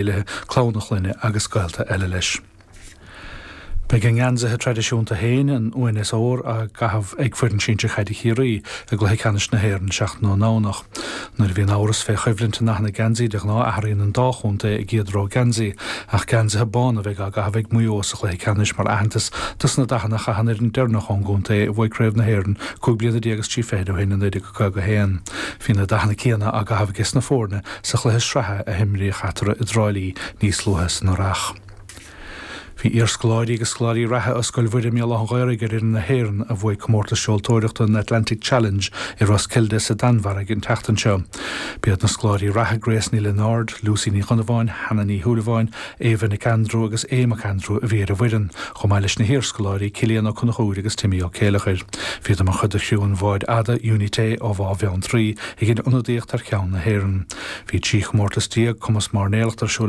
Céilithe, clann a chlainne agus gaolta eile leis. Beidh a ngeansaithe traidisiúnta féin, an uain is ór, á gcaitheamh ag foireann sinsir chaide Chiarraí i gcluiche ceannais na hÉireann seachtain ón nDomhnach. Nuair a bhíonn amhras fé choimhlint i ndathanna geansaí de ghnáth athraíonn an dá chontae a gcéad rogha geansaí, ach geansaithe bána a bheidh á gcaitheamh ag Maigh Eo sa chluiche ceannais mar aitheantas dos na dathanna a chaith an fhoireann deireanach ón gcontae a bhuaigh Craobh na hÉireann 15 bliana is 30 ó shin i 1951. Bhí na dathanna céanna á gcaitheamh aige sna foirne sa chluiche sraithe a himríodh eatarthu i dTrá Lí níos luaithe san earrach. Bhí iarscoláirí agus scoláirí reatha ó Scoil Mhuire i mBéal Átha an Ghaorthaidh ar fhoireann na hÉireann a bhuaigh comórtas seoltóireachta an Atlantic Challenge i Roskilde sa Danmhairg an tseachtain seo. B'iad na scoláirí reatha Grace Ní Lionáird, Lucy Ní Dhonnabháin, Hannah Ní Shúilleabháin, Ava Nic Aindriú agus Aodh Mac Aindriú a bhí ar an bhfoireann, chomh maith leis na hiarscoláirí Cillian Ó Conchúir agus Timmy Ó Céileachair. Bhíodar mar chuid de chriú an bháid fhada Unité ó Bhá Bheanntraí a dhein ionadaíocht thar ceann na hÉireann. Bhí 13 chomórtas cumas mairnéalachta ar siúl.